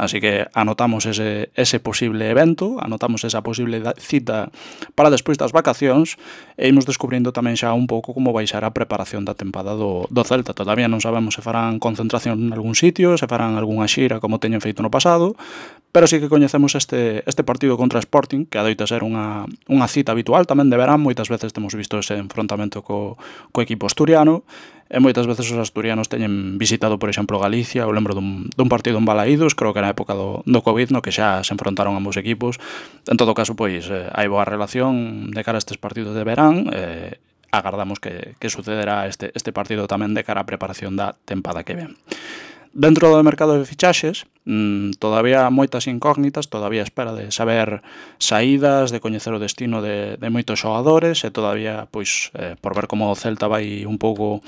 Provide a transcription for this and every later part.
así que anotamos ese posible evento, anotamos esa posible cita para despois das vacacións e imos descubrindo tamén xa un pouco como vai ser a preparación da tempada do Celta. Todavía non sabemos se farán concentración en algún sitio, se farán algunha xira como teñen feito no pasado, pero sí que coñecemos este partido contra Sporting, que adoita ser unha cita habitual tamén de verán. Moitas veces temos visto ese enfrontamento co equipo asturiano, e moitas veces os asturianos teñen visitado, por exemplo, Galicia. Eu lembro dun partido en Balaídos, creo que na época do Covid, no que xa se enfrontaron ambos equipos. En todo caso, pois, hai boa relación de cara a estes partidos de verán, agardamos que sucederá este partido tamén de cara á preparación da tempada que ven. Dentro do mercado de fichaxes, todavía moitas incógnitas, todavía espera de saber saídas, de coñecer o destino de moitos xogadores, e todavía, pois, por ver como o Celta vai un pouco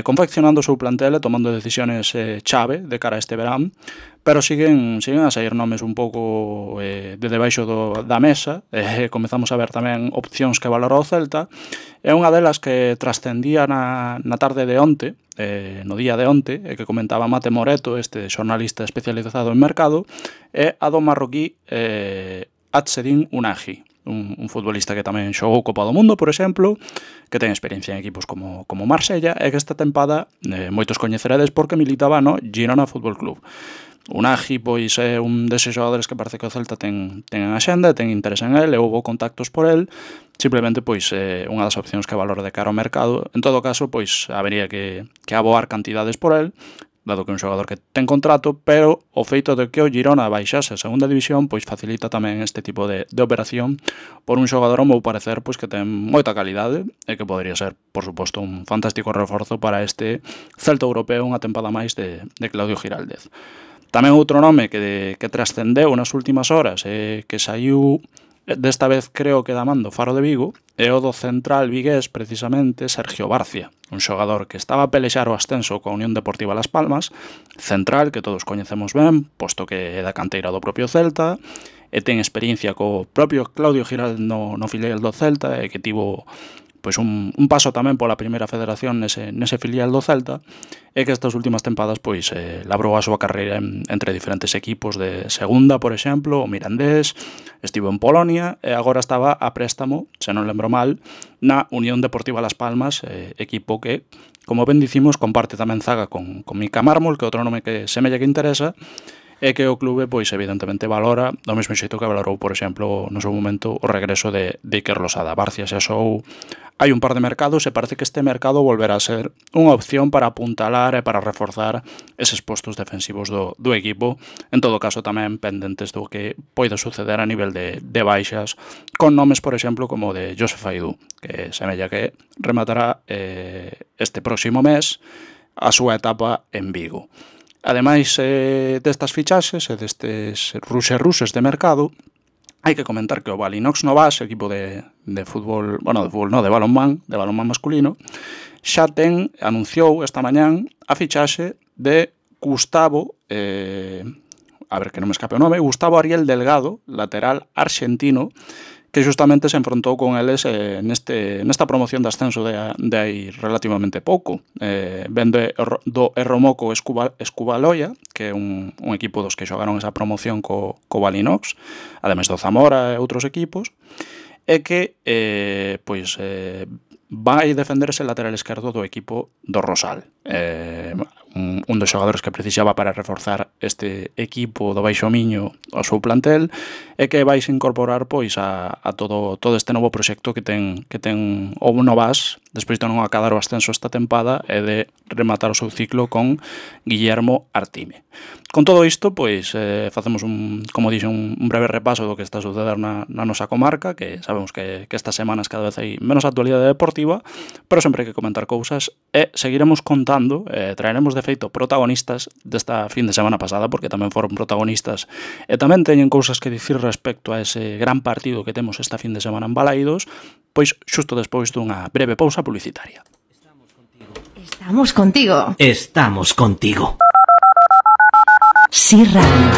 confeccionando o seu plantel e tomando decisiones chave de cara a este verán, pero siguen a sair nomes un pouco de debaixo da mesa. Comezamos a ver tamén opcións que valora o Celta, e unha delas que trascendía na tarde de onte, no día de onte, e que comentaba Mate Moreto, este xornalista especializado en mercado, é a do marroquí Azzedine Ounahi, un futbolista que tamén xogou Copa do Mundo, por exemplo, que ten experiencia en equipos como Marsella, e que esta tempada moitos coñeceredes porque militaba no Girona Fútbol Club. Ounahi, pois, é un deses xogadores que parece que o Celta ten en axenda, ten interés en el, e houve contactos por el. Simplemente, pois, unha das opcións que valora de cara ao mercado. En todo caso, pois, habería que aboar cantidades por el, dado que é un xogador que ten contrato, pero o feito de que o Girona baixase a segunda división, pois, facilita tamén este tipo de operación por un xogador, ao meu parecer, pois, que ten moita calidade e que podría ser, por suposto, un fantástico reforzo para este Celta europeo, unha tempada máis de Claudio Giraldez. Tamén outro nome que trascendeu nas últimas horas e que saiu desta vez, creo que da man do Faro de Vigo, é o do central vigués, precisamente, Sergio Barcia, un xogador que estaba a pelexar o ascenso coa Unión Deportiva Las Palmas, central que todos coñecemos ben, posto que é da canteira do propio Celta, e ten experiencia co propio Claudio Giraldez no filial do Celta, e que tivo pois un paso tamén pola primeira federación nese filial do Celta, e que estas últimas tempadas pois labrou a súa carreira entre diferentes equipos de segunda, por exemplo, o Mirandés, estivo en Polonia e agora estaba a préstamo, se non lembro mal, na Unión Deportiva Las Palmas, equipo que, como ben dicimos, comparte tamén zaga con Mika Mármol, que é outro nome que semella que interesa, e que o clube, pois, evidentemente valora do mesmo xeito que valorou, por exemplo, no seu momento o regreso de Iker Losada. Barcia xa xou hai un par de mercados e parece que este mercado volverá a ser unha opción para apuntalar e para reforzar eses postos defensivos do equipo. En todo caso, tamén pendentes do que poida suceder a nivel de baixas, con nomes, por exemplo, como o de Joseph Aidú, que semella que rematará este próximo mes a súa etapa en Vigo. Ademais destas fichaxes e destes ruses de mercado, hai que comentar que o Balinox Novas, equipo de fútbol, de balonmán masculino, xa anunciou esta mañán a fichaxe de Gustavo, a ver que non me escape o nome, Gustavo Ariel Delgado, lateral arxentino, que xustamente se enfrontou con eles nesta promoción de ascenso de hai relativamente pouco. Vende do Erromoco Escubaloia, que é un equipo dos que xogaron esa promoción co Balinox, ademais do Zamora e outros equipos, e que vai defenderse el lateral esquerdo do equipo do Rosal. Un dos xogadores que precisaba para reforzar este equipo do Baixo Miño ao seu plantel, e que vai se incorporar pois a todo este novo proxecto que ten o Novas, despois de non acadar o ascenso esta tempada e de rematar o seu ciclo con Guillermo Artime. Con todo isto, pois, facemos como dixen, un breve repaso do que está a suceder na nosa comarca, que sabemos que estas semanas cada vez hai menos actualidade deportiva, pero sempre hai que comentar cousas, e seguiremos contando, traeremos de feito protagonistas desta fin de semana pasada, porque tamén foron protagonistas e tamén teñen cousas que dicir respecto a ese gran partido que temos esta fin de semana en Balaídos, pois xusto despois dunha breve pausa publicitaria. Estamos contigo. Estamos contigo. Sí Radio.